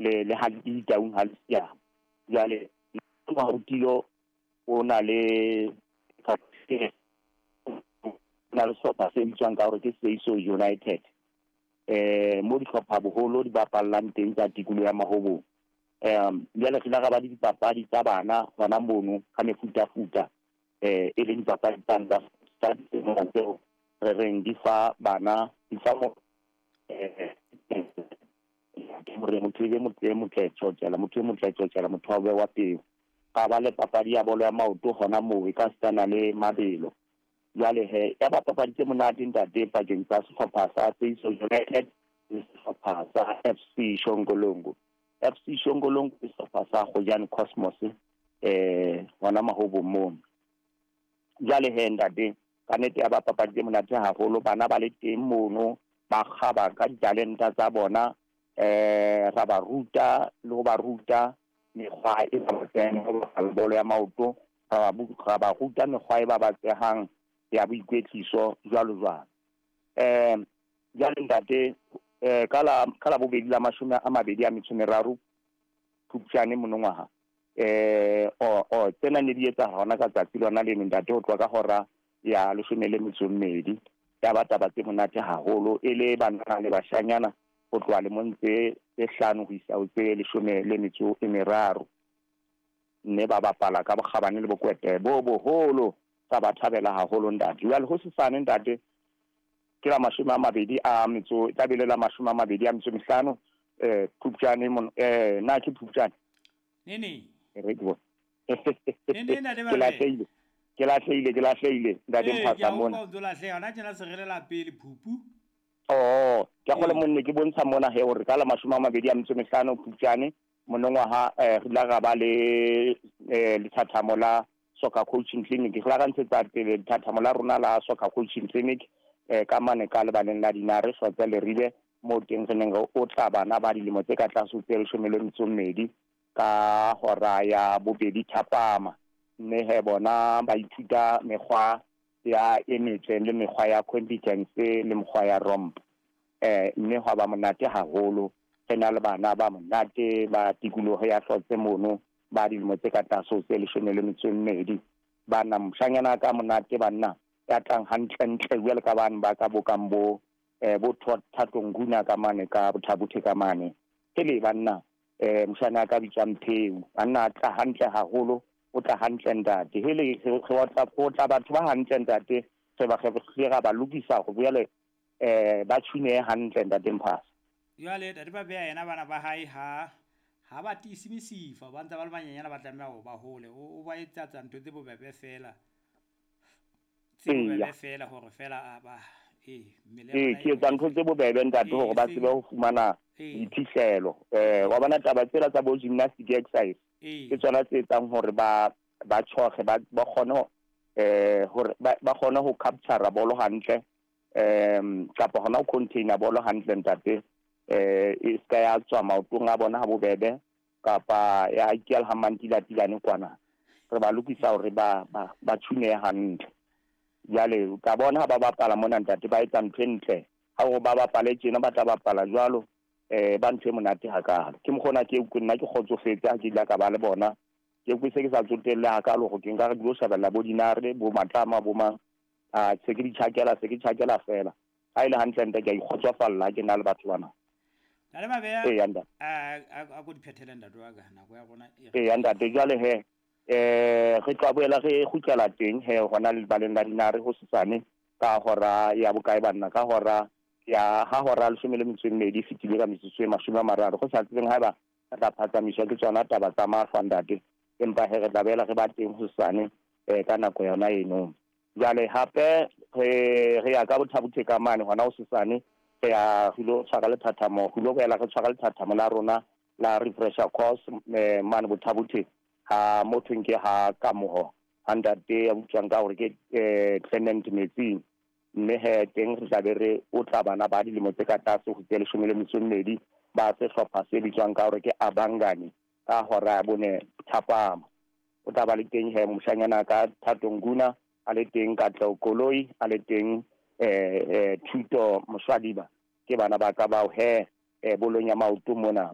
Le le ha Ditaung ha le siama. Jwale Mahotilo o na le na le sehlopha se bitswang ka hore ke Seiso United. Mo dihlopha boholo di bapallang teng tsa tikoloho ya Mahobong. Jwale re ile ra ba le dipapadi tsa bana hona mono ka mefutafuta, e leng dipapadi tsa tseo re reng di fa bana di fa hore motho e be motho e motle tjotjela, motho e motle tjotjela, motho wa bewa peo. Ra ba le papadi ya bolo ya maoto hona moo e ka sitana le mabelo. Jwale he, ya ba papadi tse monate ntate pakeng tsa sehlopha sa Seiso United le sehlopha sa FC Shongolongo. FC Shongolongo ke sehlopha sa Gojane Cosmos hona Mahobong mono. Jwale he ntate, ka nnete ya ba papadi tse monate haholo, bana ba le teng mono, ba kgaba ka ditalenta tsa bona, ra ba ruta le ho ba ruta mekgwa e babatsehang ho bapala bolo ya maoto, ra ba ruta mekgwa e babatsehang ya boikwetliso jwalo jwalo. Jwale ntate, ka la bobedi la 23 Phupjane monongwaha, tsena ne di etsahala hona ka tsatsi lona leno ntate, ho tloha ka hora ya 12. Ya ba taba tse monate haholo, e le banana le bashanyana ho tloha lemong tse 5 ho isa ho tse 13. Mme ba bapala ka bokgabane le bokwete bo boholo, tsa ba thabela haholo ntate. Jwale ho sesane ntate, ke la 25 tla la 25 Phupjane mon na ke Phupjane nene re ke bona. Nene ntate Ke lahlehile, ke lahlehile, ke lahlehile ntate Mphasa mona. O lahleha hona tjena, se re le la pele Phupu. Oh, ke gole monne ke bontsha mona he hore ka la 25 Phupjane monongwaha, re ile ra ba le lethathamo la soccer coaching clinic. Re la ra ntshetsa pele lethathamo la rona la soccer coaching clinic ka mane ka lebaleng la Dinare Hlotse Leribe, mo teng re neng re otla bana ba dilemo tse ka tlase ho tse 12 ka hora ya 2 thapama. Mme he bona ba ithuta mekgwa ya e metle le mekgwa ya competence le mekgwa ya romp. Mme hwa ba monate haholo, re na le bana ba monate ba tikoloho ya Hlotse mono ba dilemo tse ka tlase ho tse 12. Bana moshanyana ka monate banna ya tlang hantle ntle jwale ka bane ba ka bokang bo bo Thato Nguna ka mane ka Bothabothe ka mane. Hele banna, moshana ka bitswang Pheu, banna a tla hantle haholo, o tla hantle ntate. Hele re otla batho ba hantle ntate, re ba re ra ba lokisa hore jwale ba tshune hantle ntate Mphasa. Jwale ntate ba beha yena bana ba hae ha ba tiise mesifa, ba ntse ba le banyenyana, ba tlameha hore ba hole. O ba etsa ntho tse bobebe fela. Tse bobebe fela hore fela ba mmele ke etsa ntho tse bobebe ntate hore ba tsebe ho fumana diphihlelo. Wa bona taba tsela tsa bo gymnastic exercise ke tsona tse etsang hore ba tshoge, ba kgone hore ba kgone ho capture bolo hantle, kapa hona ho container bolo hantle ntate. E ska ya tswa maotong a bona ha bobebe, kapa ya ikela ha mantilatilane kwana. Re ba lokisa hore ba tshune hantle. Jwale ka bona ha ba bapala mona ntate, ba etsa ntho e ntle. Ha hore ba bapale tjena, ba tla bapala jwalo, ba ntho e monate hakalo. Ke mokgona ke nna ke kgotsofetse ha ke ile ka ba le bona. Ke se ke sa tsotelle hakalo hore ke nka re dilo shebella bo Dinare, bo Matlama, bo mang. Se ke di tjhakela, se ke tjhakela fela. Ha ile hantle ntate, ke a ikgotsofalla ke na le batho bana. Ntate Mabeya, a ko di phethele ntate wa ka, nako ya rona e. Eya ntate, jwale he re tla boela re kgutlela teng he hona lebaleng la Dinare ho sesane ka hora ya bokae banna, ka hora ya ha hora 12 fetile ka metsotso e 30. Go sa tsebeng haeba re tla phatsamiswa ke tsona taba tsa mahlwa ntate, empa he re tla boela re ba teng ho sesane ka nako yona eno. Jwale hape re ya ka Bothabothe ka mane hona ho sesane, re ya re ilo tshwara lethathamo, re ilo boela re tshwara lethathamo la rona la refresher course mane Bothabothe ha motho nke ha Kamoho ha ntate ya butswang ka hore ke Clement Metsing. Mme he teng re tla be re otla bana ba dilemo tse ka tlase ho tse 12 ba sehlopha se bitswang ka hore ke Abangani ka hora ya 4 thapama. O tla ba le teng he moshanyana ka Thato Nguna, a le teng Katleho Koloi, a le teng Thuto Moswadiba. Ke bana ba ka bao he bolong ya maoto mona.